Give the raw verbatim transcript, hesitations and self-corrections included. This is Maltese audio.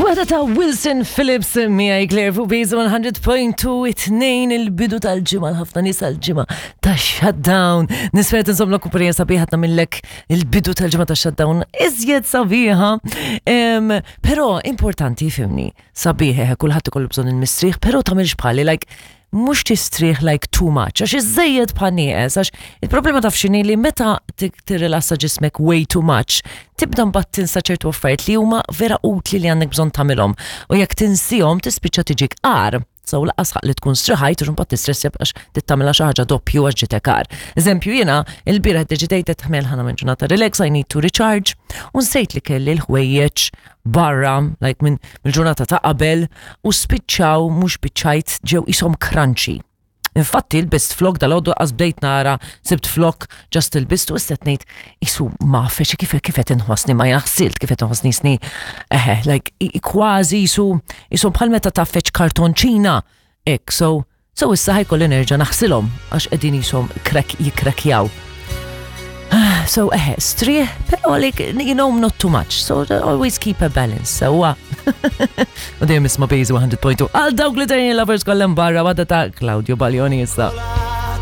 Waħda ta' Wilson Phillips miegħi Claire fuq Base one hundred point two, it-tnejn, il-bidu tal-ġimgħa, ħafna nies għal-ġimgħa ta' shutdown. Nispera tinżomm l-kumpanija sabiħa, tagħmillek il-bidu tal-ġimgħa ta' shutdown iżjed sabiħa. Em, Però importanti, fhimni, sabiħ, kulħadd ikollu bżonn il-mistrieħ, però tagħmilx bħali, like mhux tistrieħ like too much, għax iżżejjed bħal nieqes, għax il-problema taf x'inhi, li meta tirrilassa ġismek way too much, tibda mbagħad tinsa ċertu affarijiet li huma vera utli li għandek bżonn tagħmilhom. U jekk tinsihom tispiċċa tiġik agħar. So lanqas ħaqq li tkun striħajt u mbagħad tistressja għax tittamilha xi ħaġa doppju għax ġitek agħar. Eżempju, jiena il-bieraħ deċidejt tħmel ħana minn ġurnata relax, I need to recharge, u nsejt li kelli l-ħwejjeġ barra, like minn mill-ġurnata ta' qabel, u spiċċaw, mhux biċċajt, ġew ishom crunchy. Infatti lbist flok dalgħodu, għax bdejt nara, sibt flok, just ilbistu, u qed ngħid isu ma feċi kif kif qed inħossni, ma jaħsilt kif qed inħossni sni, eħe, like i- kważi isu isu bħal meta taffeċ kartonċina ek, so so issa ħa jkolli nerġa' naħsilhom għax qegħdin ishom crack jikrakjaw. So eħe, strieħ, pero like, you know, not too much. So always keep a balance. So, u dejjem isma' Base one hundred point two. Għal dawk li Italian lovers kollem barra, waħda ta' Claudio Baglioni issa.